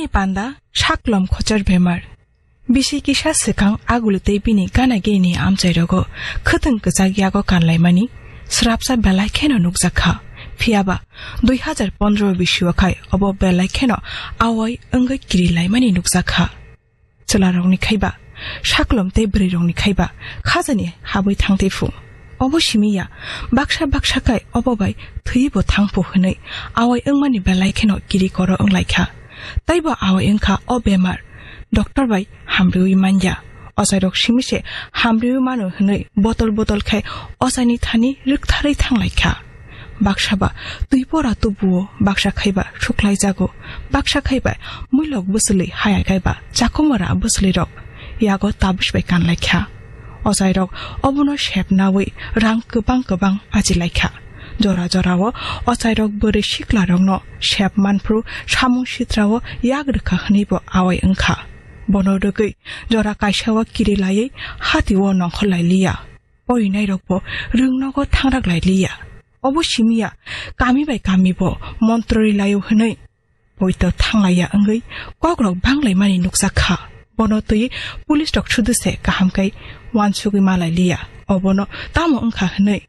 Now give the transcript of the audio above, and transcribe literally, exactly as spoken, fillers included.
Panda saklom khochar bemar. Bisi kisa swkang aguli tei bini gana gini amchai rogo khwtwng kwchak yago kanlaimani srapsa belai kheno nukjak kha. Phiyaba dui hazar pondro bisio khai obo belai kheno awai wngwi kirilaimani nukjak kha. Chwlarokni khaiba, saklom tei bwrwirokni khaiba khajani habwi thangtwi phu. Obo simi ya, baksa baksa khai obo bai thwiwi bo thang phu hwnwi awai wngmani belai kheno kiri koro wnglaikha. Taibo awai wngkha o bemar, doctor bai hamriwi manya. Ochairok simi se hamriwi mano hwnwi botol botol khai ochaini thani rwktharwi thanglaikha. Baksa ba twi pora tubuo, baksa khaiba suklaijago, baksa khaiba muilok bwswlwi hayai khaiba chakhumara bwswlwirok yago tabis bai kanlaikha. Ochairok obono sep nawi rang kwbang kwbang ajilaikha. Jora jorao ochairok bwrwi siklarokno sep manphru samung sitrao yak rwkha hwnwibo awai wngkha. Bono rwgwi jora kaisao kiri laiwi hatio nongkhor lai liya. Porinairokbo rwngnogo thangrak lai liya. Obo simiya kami bai kamibo montrori laio hwnwi poito thanglaiya wngwi kokrok banglaimani nukjak kha. Bono twi police rok sudu se kaham kai wansugwi malai liya. Obono tamo wngkha hwnwi